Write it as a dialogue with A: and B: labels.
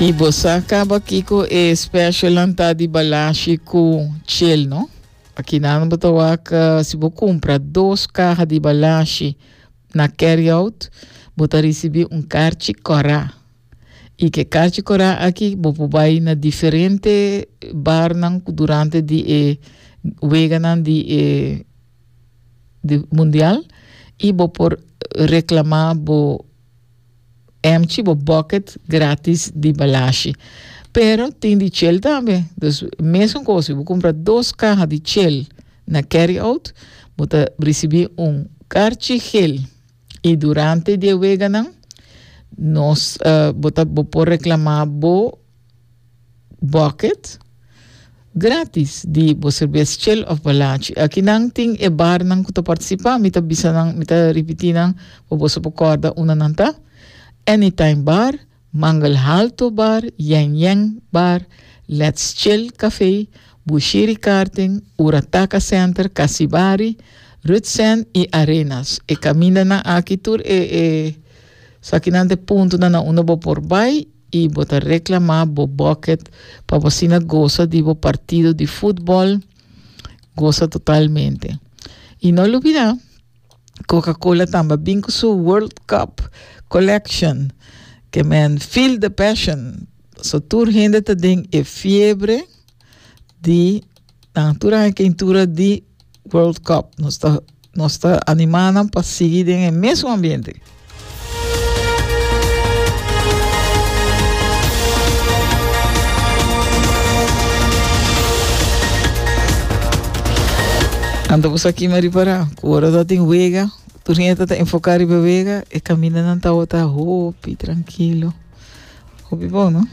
A: I bo sa kaba kiko e specialnan ta di Balashi ku Chel, no? Akinan bo ta wak si bo kumpra dos kaha di Balashi na carry out, bo ta risibí un karchi kòrá. I ku e karchi kòrá aki bo por bai na diferente barnan durante di e weganan di e di mundial i bo por reklamá bo Emchi bo bucket gratis di balashi. Pero tin di chel tambe. Dus mesun kos, si bo kumpra dos kaha di chel na carry out, bo ta risibí un karchi gel. I durante di e weganan nos bo ta bo por reklamá bo bucket gratis di bo serbes chel of balachi. Aki nan tin e barnan ku ta partisipá. Mi ta bisa nan, mi ta ripití nan pa boso por kòrda unda nan ta. Anytime Bar, Mangel Halto Bar, Yen Yen Bar, Let's Chill Café, Bushiri Karting, Urataka Center, Casibari, Rutsen i Arenas. E kamindanan aki tur e e sakinan ta e puntonan na unda bo por bai. i bo ta reklamá bo bucket pa bo asina gosa di bo partido di futbòl, gosa totalmente. I no lubidá, Coca-Cola tambe a bin ku su World Cup Collection, ke men Feel the Passion. So tur hende ta den e fiebre di nan tur aña keintura di World Cup. Nos ta nos ta animá nan pa sigui den e mesun ambiente. Anto bo sa kima ripará ku ora ta tin wega, tur hende ta enfoká riba e wega, e kamindanan tabata hopi trankilo. Hopi bon, no?